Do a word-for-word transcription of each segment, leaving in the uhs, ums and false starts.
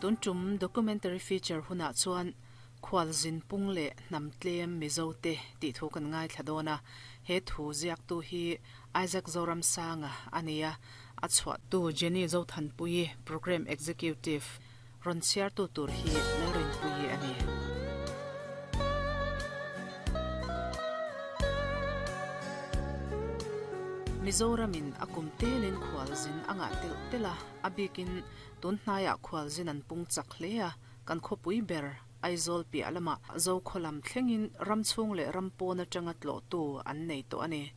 Tun tum documentary feature huna chuan khwal zin pung le hnam tlem Mizo te tih thu kan ngai thla dawn a. He thu ziak tu hi Isaac Zoram Sanga ania, a chhuah tu Jenny Zothanpui, program executive, ron chhiar tu tur hi Lalrin Pui ani. Mizoramin akum telin khwal zin anga tel tela abikin tun hnaiah khwal zin an pung chak hle a. Kan khawpui ber Aizawl piah lama zo kholam thlengin ramchhung leh rampawn atanga tlawh tu an nei tawh ani.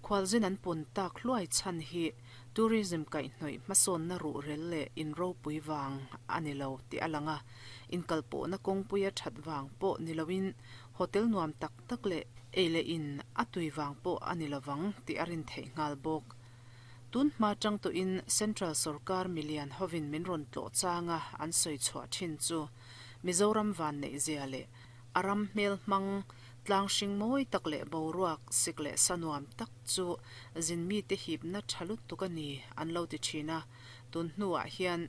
Khwal zin an pun tak hluai chhan hi tourism kaihhnawih hmasawn na ruh rel leh in ropui wang ani lo ti alanga. In kalpawh na kawngpuia that wang pawh ni loin hotel nuam tak tak leh ei leh in a tui wang pawh ani lovang ti a rin theih nghal bawk. Tun hma tang to in Central Sarkar milian hovin min rawn tlawh changa an sawi chhuah thin chu Mizoram van nei zia leh aram hmel hmang tlang hring mawi tak leh boruak sik leh sanuam tak chu zin mi te hip na thalut tuk ani an lo ti thina. Tun hnuah hian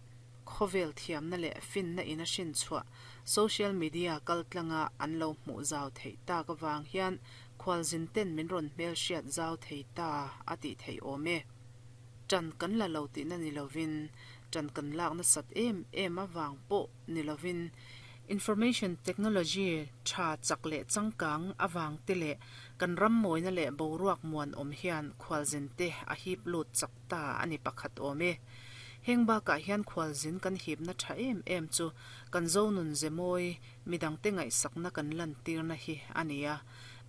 khovel thiam na leh fin na in a hrin chhuah social media kaltlanga an lo hmuh zau thei tak awang hian khwal zin ten min rawn hmel hriat zau thei ta a ti thei awm e. Tan kan la lo ti na ni lovin tan kan lak na sat em em awang pawh ni lovin information technology tha chak leh changkang awang te leh kan ram mawina leh boruak muan awm hian khwal zin te a hip lut chak ta ani pakhat awm e. Heng bakah hian khwal zin kan hip na tha em em chu kan zonun zemawi midang te ngaih sakna kan lan tir na hi ania.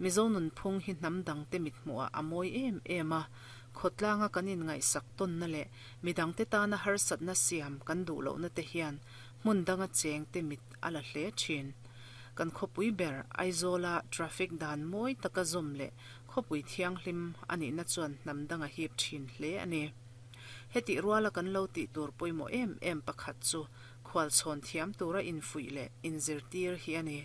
Mizonun phung hi hnam dang te mit hmuah a mawi em em a. Khotlanga kan in ngaih sak ton na leh midang te tana harsat na siam kan duh loh na te hian hmun danga cheng te mit a la hle thin. Kan khawpui ber Aizawla traffic dan mawi taka zawm leh khawpui thianghlim ani na chuan hnam danga hip thin hle ani. Heti ruala kan lo tih tur pawimawh em em pakhat chu khwal chhawn thiam tura infuih leh inzirtir hi ani.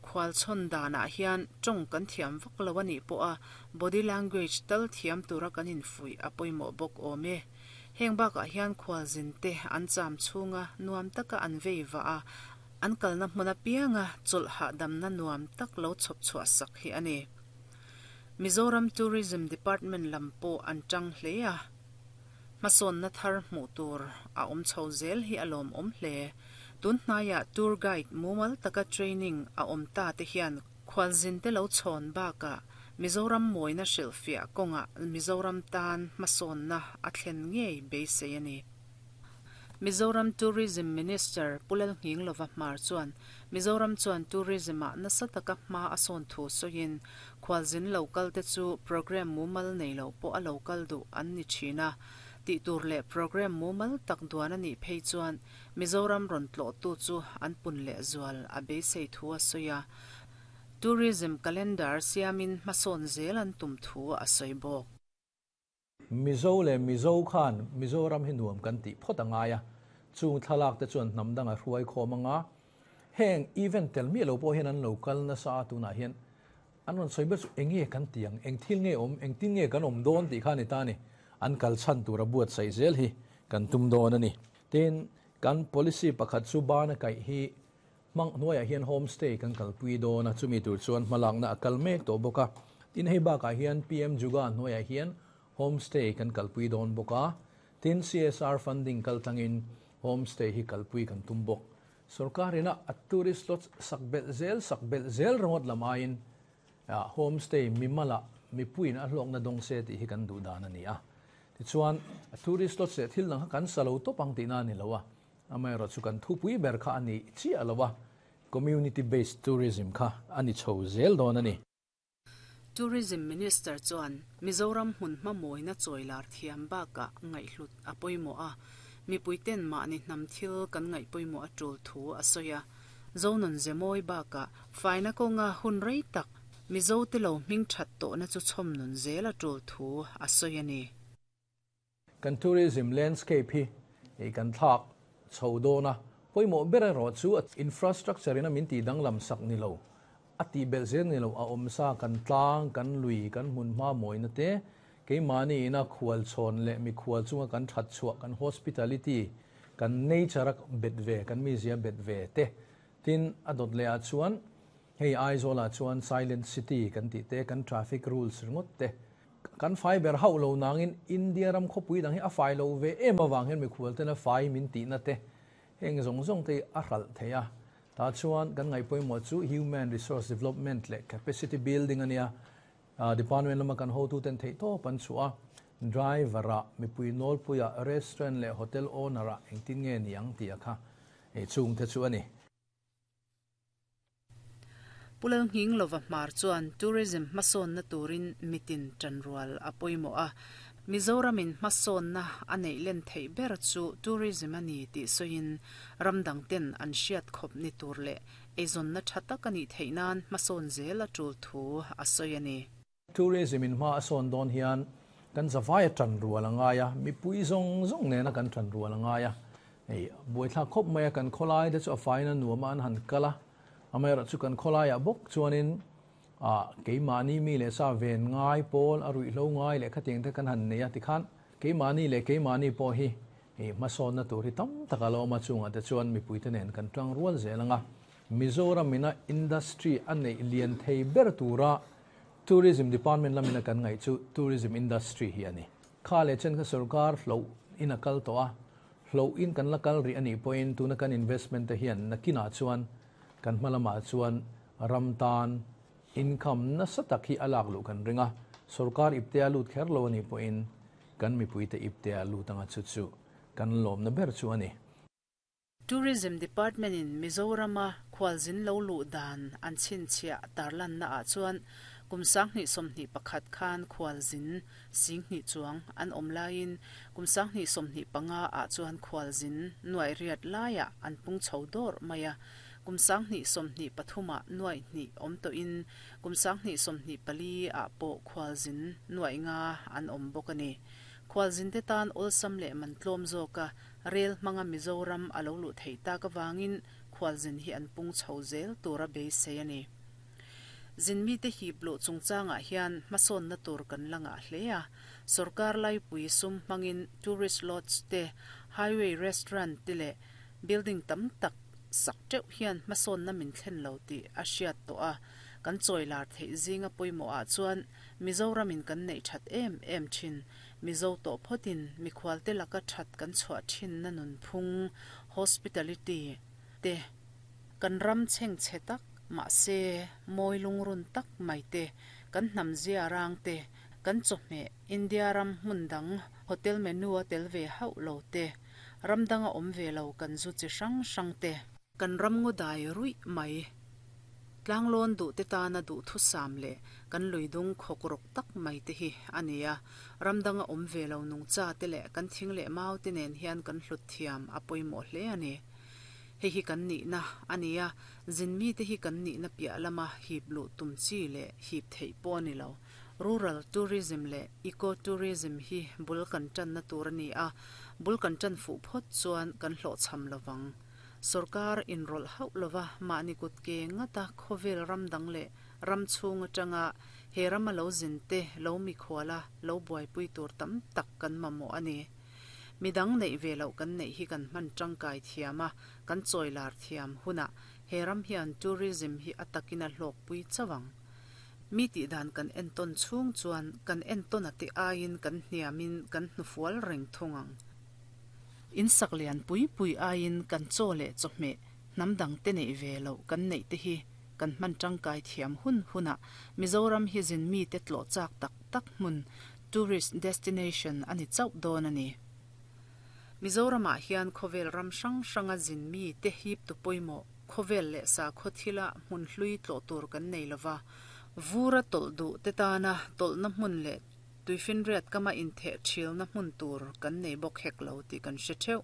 Khwal chhawn danah hian tawng kan thiam vak lo ani pawh a body language tal thiam tura kan infuih a pawimawh bawk awm e. Heng bakah hian khwal zin te an cham chhunga nuam taka an vei va a an kalna hmun apianga chawlh hahdamna nuam tak lo chhawp chhuah sak hi ani. Mizoram Tourism Department lam pawh an tang hle a. Hmasawn na thar hmuh tur a awm chho zel hi a lawm awm hle. Tun hnaiah tour guide mumal taka training a awm ta te hian khwal zin te lo chhawn bakah Mizoram mawina hrilhfiah kawnga Mizoram tan hmasawn na a thlen ngei beisei ani. Mizoram Tourism Minister Pulal Nghinglova Hmar chuan Mizoram chuan tourism a nasa taka hma a sawn thu sawiin khwal zin local te chu program mumal nei lo pawh a local duh an ni thina. Tih tur leh program mumal tak duan ani phei chuan Mizoram rawn tlawh tu chu an pun leh zual a beisei thu a sawi a. Tourism calendar siamin hmasawn zel an tum thu a sawi bawk. Mizo le Mizo khan Mizoram hi nuam kan tih phawt anga ya chung thlalak te chuan hnam danga hruai khawm anga heng event tel mi lo pawh hian an local na sa tunah hian an rawn sawi ber chu enge kan tiang eng thil nge awm eng tin nge kan awm dawn tih kha ni ta ni an kal chan tura buat sai zel hi kan tum dawn ani. Tin kan policy pakhat chu bana kai hi mang hnuaiah hian homestay kan kalpui dawn a chumi tur chuan hmalak na a kal mek tawh bawk a. Tin hei bakah hian P M Juga hnuaiah hian homestay kan kalpui dawn bawk a. Tin C S R funding kal tlangin homestay hi kalpui kan tum bawk. Sarkarina a tourist lots sakbel zel sakbel zel rawt lamain homestay mimala mipuin a hlawk na dawng se tih hi kan duh dan ani a. Tichuan a tourist lots leh thil dang kha kan salo tawp ang tihna ani lo a. Amaherawh chu kan thupui ber kha ani chiah lo a. Community based tourism kha ani chho zel dawn ani. Tourism Minister chuan Mizoram hmun hmamawina chawilar thiam bakah ngaihhlut a pawimawh a. Mipui ten mahni hnam thil kan ngaih pawimawh a tul thu a sawi a. Zonun zemawi bakah faina kawnga hun rei tak Mizo te lo hming that tawh na chu chhawm nun zel a tul thu a sawi ani. Kan tourism landscape hi e kan thlak chho dawn a pawimawh ber erawh chu infrastructure ina min ti danglam sak ni lo a ti bel zel ni lo a awm sa kan tlang kan lui kan hmun hma mawina te keimahni ina khual chhawn leh mi khual chunga kan that chhuah kan hospitality kan Kan nature bet ve kan mi zia bet ve te tin adot le a chuan hei Aizawl chuan silent city kan ti te kan traffic rules ringot te kan fai ber hau lo nangin India ram khopui dang hi a fai lo ve em awang hian mi khual te na fai min ti na te heng zong zong te a hral theia ta chuan kan ngai pawimawh chu human resource development le capacity building ania department lama kan hotu ten thei to pan chua driver a mipui nol puia restaurant le hotel owner a engtin nge niang ti a kha e chung te chu ani. Pulal hing lova hmar chuan tourism hmasawn na turin mitin tanrual a pawimawh a Mizoramin hmasawn na a neih len theih ber chu tourism ani tih sawiin ramdang ten an hriat khawp ni tur leh eizawn na tha tak ani theih nan hmasawn zel a tul thu a sawi ani. Tourism in hma a sawn dawn hian kan zawai a tanrual anga ya mipui zawng zawng nena kan tanrual anga ya ei buaithla khawp mai a kan khawlai te chu a faina nuama an han kala amera chu kan khawlai a bawk chuanin a keimahni mi le sa ven ngai pawl a ruih hlo ngai leh khating te kan han nei a tikhan keimahni leh keimahni pawh hi ei hmasawn na tur hi tam tak a lo awm a chungah te chuan mipui te nen kan tang rual zel anga Mizoram ina industry a neih lian thei ber tura tourism department lamina kan ngai chu tourism industry hi ani kha le chen kha sarkar hlo in a kal to a hlo in kan la kal ri ani point tuna kan investment te hian nakina chuan kan hmalama chuan ramtan income na satak hi alak lu kan ringa sarkar ipte lut kher lo ani point kan mipui te ipte lu tanga chu chu kan lom na ber chu ani. Tourism Department in Mizorama khwalzin lo lu dan an chin chia tarlan na a chuan kumsang ni somni pakhat khan khwalzin sing ni chuang an omlain kumsang ni somni panga a chuan khwalzin nuai riat laia an pung chodor maya kumsang ni somni pathuma nuai ni om to in kumsang ni somni pali a po khwalzin nuai nga an om bokani khwalzin te tan olsam le mantlom zoka rel manga Mizoram alo lu theita ka wangin khwalzin hi an pung chozel tura be se ani zinmi te hi blo chungchanga hian hmasawn na tur kan langa hlea sarkar lai pui sum mangin tourist lodge te highway restaurant te le building tam tak sak teuh hian hmasawn na min thlen lo ti a hriat to a kan chawilar thei zinga pawimawh ah chuan Mizoramin kan neih that em em thin Mizo to photin mikhual te laka that kan chhuah thin na nun phung hospitality te kan ram cheng che tak ma se moi lungrun tak mai te kan hnam zia rang te kan chawhme India ram hmundang hotel menu a tel ve hauh lo te ramdanga awm ve lo kan zu chi hrang hrang te kan ram ngaw dai ruih mai tlanglon du te tana du thu sam le kan luidung khokrok tak mai te hi ania ramdanga awm ve lo nung cha te le kan thing le mau te nen hian kan hlut thiam a pawimawh hle ani. Hei hi kan ni na ania zinmi te hi kan ni na piah lama hip lu tum chi le hip thei pawh ani lo rural tourism le eco tourism hi bul kan tan na tur ani a bul kan tan fu phawt chuan kan hlawh cham lovang sarkar inrol hauh lova mahni kut ke ngata khawvel ramdang le ram chhung atanga he rama lo zin te lo mi khuala lo buaipui tur tam tak kan mamawh ani. Midang nei ve lo kan nei hi kan hman tangkai thiama kan chawilar thiam huna he ram hian tourism hi atakina hlawk pui chawang mi ti dan kan enton chhung chuan kan enton ate aiin kan hniamin kan hnufual reng thungang in saklian pui pui aiin kan chaw le chawhme hnamdang te nei ve lo kan nei te hi kan hman tangkai thiam hun huna Mizoram hi zin mi te tlo chak tak tak hmun tourist destination ani chauh dawn ani. Mizorama hian khawvel ram hrang hranga zin mi te hip tu pawimawh khawvel leh sa khawthila hmun hlui tlawh tur kan nei lova vura tawlh duh te tana tawlhna hmun leh tuifinriat kama intheh thilna hmun tur kan nei bawk hek lo tih kan hre theuh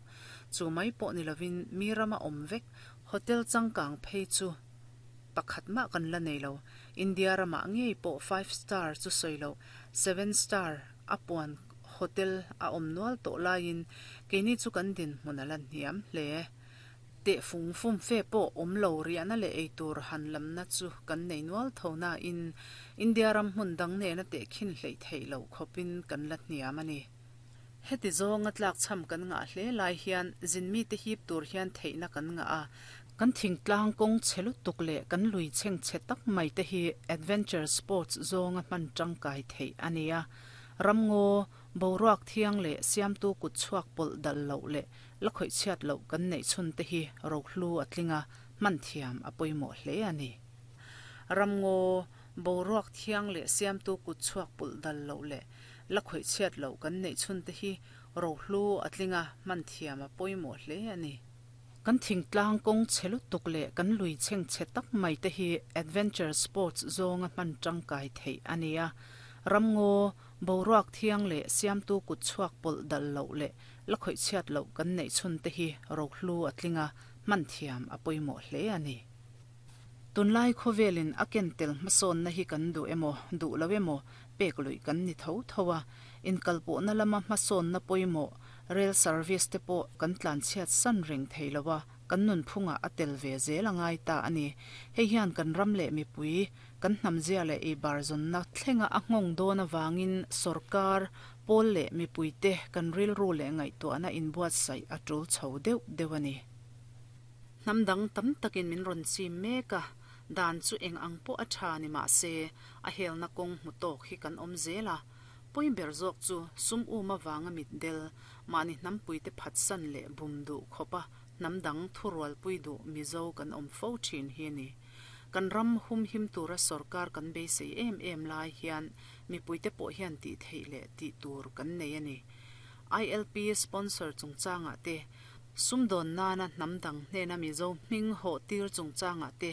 chu mai pawh ni lovin mi rama awm vek hotel changkang phei chu pakhat mah kan la nei lo India rama ngei pawh five star chu sawi lo seven star a puan hotel a awm nual tawh laiin keini chu kan din hmun a la hniam hle te fung fum fe pawh awm lo riahna leh eitur han lamna chu kan nei nual tho na in India ram hmun dang nena te khin hlei thei lo khawpin kan la hniam ani. Heti zawnga tlak cham kan nga hle lai hian zin mi te hip tur hian theihna kan nga a kan thingtlang kawng chhe lutuk leh kan lui chheng chhe tak mai te hi adventure sports zawnga hman tangkai theih a ni a ramngaw boruak thiang leh siamtu kut chhuak pawlh dal loh leh la khawih chhiat loh kan neih chhun te hi rohlu a tlinga hman thiam a pawimawh hle a ni ramngaw boruak thiang leh siamtu kut chhuak pawlh dal loh leh la khawih chhiat loh kan neih chhun te hi rohlu a tlinga hman thiam a pawimawh hle a ni kan thingtlang kawng chhe lutuk leh kan lui chheng chhe tak mai te hi adventure sports zawnga hman tangkai theih a ni a ramngaw boruak thiang leh siamtu kut chhuak pawlh dal loh leh la khawih chhiat loh kan neih chhun te hi rohlu a tlinga hman thiam a pawimawh hle a ni tunlai khawvelin a ken tel hmasawn na hi kan duh emaw duh lo emaw pek lui kan ni tho tho a inkalpawhna lama hmasawn na pawimawh rail service te pawh kan tlan chhiat san reng thei lo a kan nun phunga a tel ve zel a ngai ta a ni hei hian kan ram leh mipui kan hnam zia leh ei bar zawnna thlenga a nghawng dawn awangin sorkar pawl leh mipui te kan rilru leh ngaihtuahna inbuatsaih a tul chho deuh deuh a ni hnam dang tam takin min rawn chim mek a dan chu eng ang pawh a tha ni mah se a helna kawng hmu tawk hi kan awm zel a pawimawh zawk chu sum um awanga mit del mahni hnampui te phatsan leh bum duh khawpa hnam dang thurual pui duh mizo kan awm fo thin hi a ni kan ram hum him tura sorkar kan beisei em em lai hian mipui te pawh hian tih theih leh tih tur kan nei a ni I L P sponsor chungchangah te sumdawn nana hnam dang hnena mizo hming hawh tir chungchangah te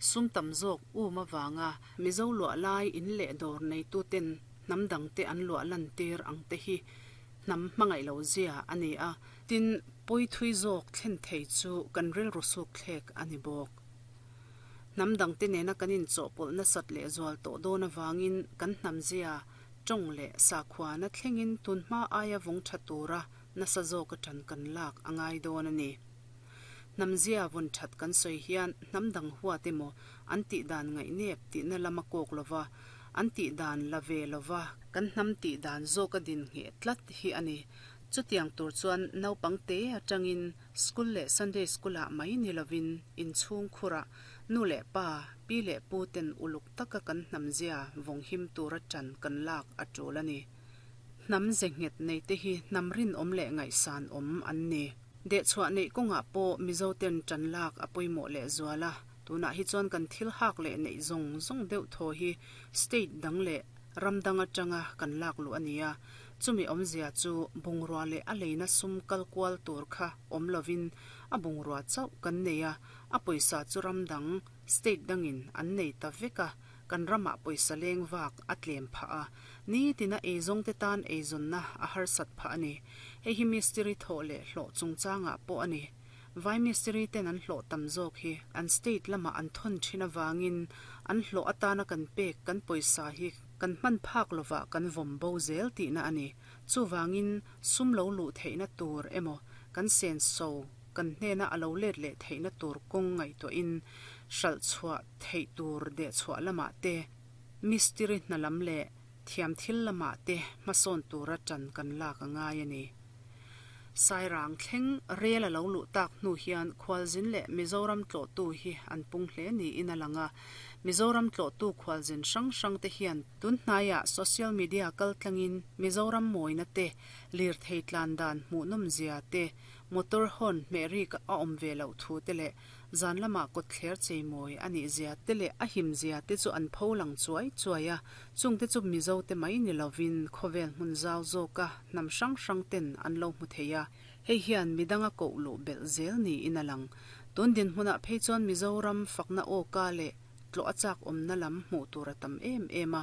sum tam zawk um awanga mizo luah lai in leh dawr nei tu ten hnam dang te an luah lan tir ang te hi hnam hmangaih lo zia a ni a tin pawi thui zawk thlen thei chu kan rilru suk thlek a ni bawk hnam dang te nena kan in chawhpawlh nasat leh zual tawh dawn awangin kan hnam zia tawng leh sakhuana thlengin tunhma aia vawng tha tura nasa zawk atang kan lak a ngai dawn a ni hnam zia vawn that kan sawi hian hnam dang huat emaw an tih dan ngaih nep tihna lama kawk lova an tih dan la ve lova kan hnam tih dan zawk a din ngheh tlat hi a ni chutiang tur chuan naupang te atangin school leh Sunday school ah mai ni lovin inchhung khurah nu leh pa pi leh pu ten uluk taka kan hnam zia vawng him tura tan kan lak a tul a ni hnam ze nghet nei te hi hnam rin awm leh ngaihsan awm an ni deh chhuah neih kawngah pawh mizo ten tan lak a pawimawh leh zuala tunah hi chuan kan thil hak leh neih zawng zawng deuh thaw hi state dang leh ram dang atanga kan lak luh a ni a chumi awmzia chu bungrua leh a leina sum kal kual tur kha awm lovin a bungrua chauh kan nei a a pawisa chu ram dang state dangin an nei ta vek a kan ramah pawisa leng vak a tlem phah a ni tina eizawng te tan eizawnna a harsat phah a ni hei hi mistiri thawh leh hlawh chungchangah pawh a ni vai mistiri ten an hlawh tam zawk hi an state lama an thawn thin awangin an hlawh atana kan pek kan pawisa hi kan hman phak lova kan vawm bo zel tihna a ni chuwangin sum lo luh theihna tur emaw kan sen so kan hnena a lo let leh theihna tur kawng ngaihtuahin hralh chhuah theih tur deh chhuah lamah te mistiri hna lam leh thiam thil lamah te hmasawn tura tan kan lak a ngai a ni sairang thleng rel a lo luh tak hnu hian khualzin leh Mizoram tlawhtu hi an pung hle niin a lang a Mizoram tlawhtu khualzin hrang hrang te hian tun hnaiah social media kal tlangin Mizoram mawina te lirthei tlan dan hmuhnawm zia te motor horn hmeh rik a awm ve loh thu te leh zan lamah kawtthler cheimawi a nih zia te leh a him zia te chu an pho lang chuai chuai a chung te chu Mizo te mai ni lovin khawvel hmun zau zawka hnam hrang hrang ten an lo hmu thei a hei hian midanga koh luh belh zel niin a lang tun din hmunah phei chuan Mizoram fakna awka leh tlawh a chak awmna lam hmuh tur a tam em em a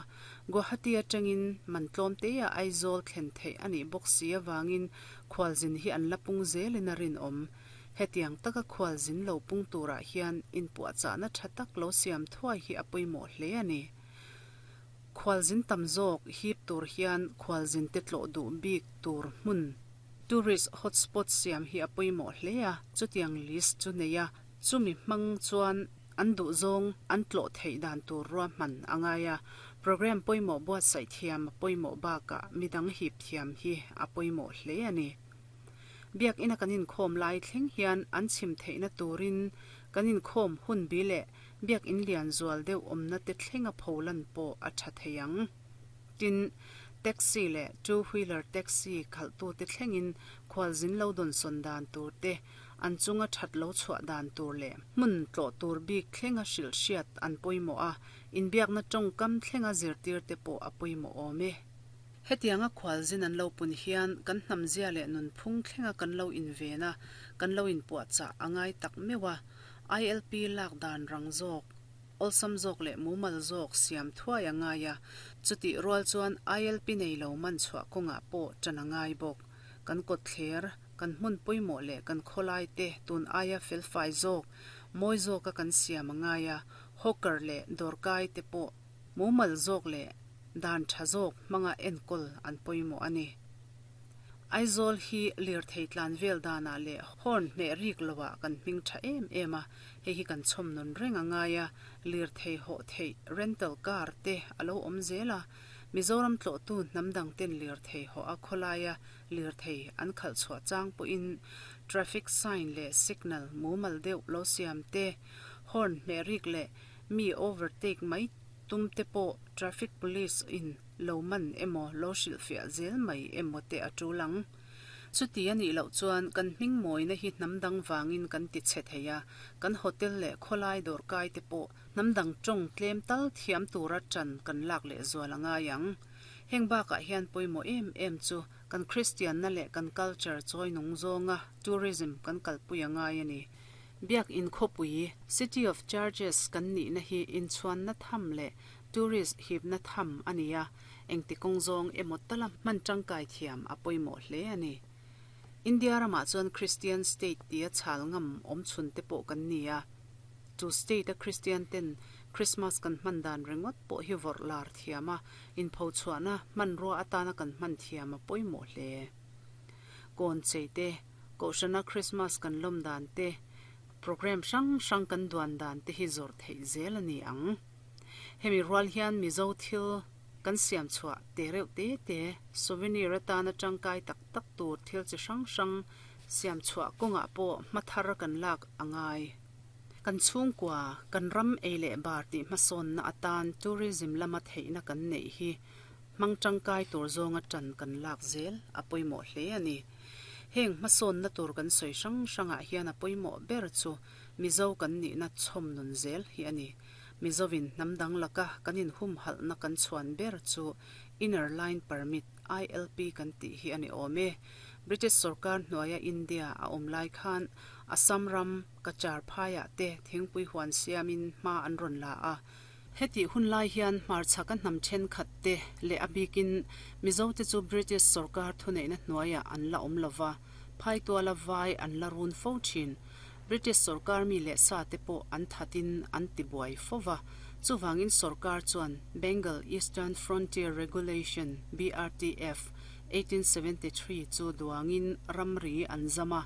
Guwahati atangin man tlawm te a Aizawl thlen theih a nih bawk si awangin khualzin hi an la pung zelin a rinawm hetiang taka khualzin lo pung turah hian inpuahchahna tha tak lo siam thuai hi a pawimawh hle a ni khualzin tam zawk hip tur hian khualzin te tlawh duh bik tur hmun tourist hotspot siam hi a pawimawh hle a chutiang list chu nei a chumi hmang chuan an duh zawng an tlawh theih dan tur ruahman a ngai a Program pawimawh buatsaih thiam a pawimawh bakah midang hip thiam hi a pawimawh hle a ni. Biakina kan inkhawm lai thleng hian an chhim theihna turin kan inkhawm hun bi leh biakin lian zual deuh awmna te thlenga pholan pawh a tha thei ang. Tin, taxi leh two wheeler taxi khalhtu te thlengin khualzin lo dawnsawn dan tur te, an chunga that lo chhuah dan tur leh hmun tlawh tur bik thlenga hrilh hriat an pawimawh a, inbiakna tawngkam thlenga zirtir te pawh a pawimawh awm e. Hetianga khualzin an lo pun hian kan hnamzia leh nunphung thlenga kan lo inven a, kan lo inpuahchah a ngai tak meuh a, I L P lak dan rang zawk, awlsam zawk leh mumal zawk siam thuai a ngai a, chutih rual chuan I L P nei lo man chhuah kawngah pawh ṭan a ngai bawk. Kan kawtthler, kan hmun pawimawh leh kan khawlai te tun aia felfai zawk, mawi zawka kan siam a ngai a, hawker leh dawrkai te pawh mumal zawk leh dan tha zawk hmanga enkawl an pawimawh a ni. Aizawl hi lirthei tlan vel danah leh horn hmeh rik loah kan hming tha em em a, hei hi kan chhawm nun reng a ngai a, lirthei hawh theih rental car te a lo awm zel a, Mizoram tlawhtu hnam dang ten lirthei hawh a khawlaia lirthei an khalh chhuah chang pawhin traffic sign leh signal mumal deuh lo siam te, horn hmeh rik leh mi overtake mai tum te pawh traffic police in lo man emaw lo hrilhfiah zel mai emaw te a tul ang. Chuti a nih loh chuan kan hming mawina hi hnam dang vangin kan ti chhe thei a, kan hotel leh khawlai dawrkai te pawh hnam dang tawng tlem tal thiam tura ṭan kan lak leh zual a ngai ang. Heng bakah hian pawimawh em em chu kan Christianna leh kan culture chawi nung zawnga tourism kan kalpui a ngai a ni. Biakin khawpui, City of Churches kan nihna hi inchhuanna tham leh tourist hipna tham a ni a, engti kawng zawng emaw tala hman tangkai thiam a pawimawh hle a ni. India ramah chuan Christian state tia chhal ngam awm chhun te pawh kan ni a, chu state a Christian ten Christmas kan hman dan ringawt pawh hi vawrh lar thiam a, inpho chhuahna hmanrua atana kan hman thiam a pawimawh hle. Kawn chei te, kohhrana Christmas kan lawm dan te, program hrang hrang kan duan dan te hi zawrh theih zel a ni ang. Hemi rual hian Mizo thil kan siam chhuah te reuh te te, souvenir atana tangkai tak tak tur thil chi hrang hrang siam chhuah kawngah pawh hmathar kan lak a ngai. Kan chhungkua, kan ram ei leh bar tih hmasawnna atan tourism lama theihna kan neih hi hmang tangkai tur zawnga ṭan kan lak zel a pawimawh hle a ni. Heng hmasawnna tur kan sawi hrang hrangah hian a pawimawh ber chu Mizo kan nihna chhawm nun zel hi a ni. Mizovin hnam dang laka kan inhumhalhna kan chhuan ber chu Inner Line Permit, I L P kan tih hi a ni awm e. British sarkar hnuaia India a awm lai khan Assam ram Cachar phaiah te thingpui huan siamin hma an rawn la a. Heti hun lai hian hmarchhaka hnam thenkhat te leh a bikin Mizo te chu British sarkar thuneihna hnuaiah an la awm lova, phaituala vai an la run fo thin. British sarkar mi leh sa te pawh an thatin an ti buai fova, chuwangin sarkar chuan Bengal Eastern Frontier Regulation, B R T F, eighteen seventy-three chu duangin ramri an zama,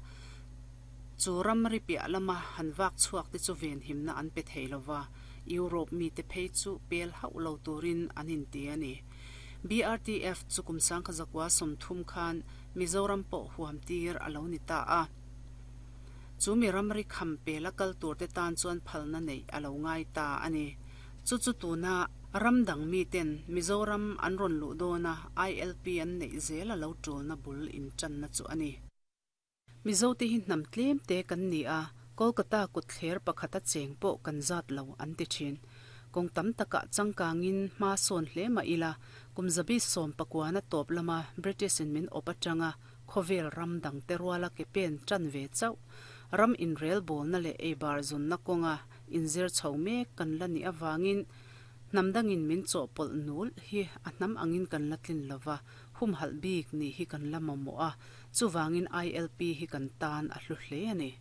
chu ramri piah lama han vak chhuak te chu ven himna an pe thei lova, Europe mi te phei chu pel hauh lo turin an inti a ni. B R T F chu kum sangkha zakua sawmthum khan Mizoram pawh huam tir a lo ni ta a. Chu mi ramri kham pela kal tur te tan chuan phalna nei a lo ngai ta a ni. Chu chu tuna ram dang mi ten Mizoram an rawn luh dawna I L P an neih zel a lo tulna bul in tanna chu a ni. Mizo te hi hnam tlem te kan ni a, Kolkata kutthler pakhata cheng pawh kan zat lo an ti thin. Kawng tam takah changkangin hma sawn hle mah ila, kum zabi sawm pakuana tawp lama British in min awp atanga khawvel ram dang te ruala ke pen tan ve chauh. Ram in rel bawlna leh ei bar zunna kawnga inzir chho mek kan la ni awangin hnam dangin min chawhpawlh nul hi a hnam angin kan la tlin lova, humhalh bik ni hi kan la mamawh a, chuwangin I L P hi kan tan a hlu hle a ni.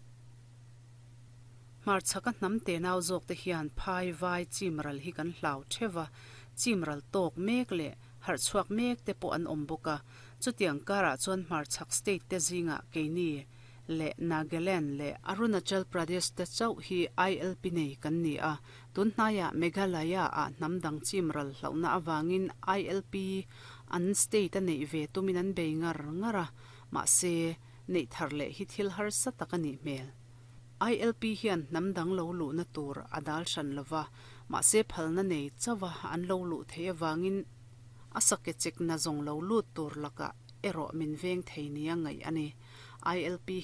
Hmarchhaka hnam te nau zawk te hian phai vai chimral hi kan hlau thewa, chimral tawk mek leh harh chhuak mek te pawh an awm bawk a, chutiang karah chuan hmarchhak state te zinga keini leh Nagaland leh Arunachal Pradesh te chauh hi I L P nei kan ni a. Tunhnaiah Meghalaya ah hnam dang chim ral hlauhna awangin I L P an state a neih ve tumin an bei ngar ngar a, mahse neih thar leh hi thil harsa tak a nih hmel. I L P hian hnam dang lo luhna tur a dal hran lova, mahse phalna nei chawa an lo luh thei awangin a sake chek na zawng lo lut tur laka erawh min veng thei nia ngaih ani. I L P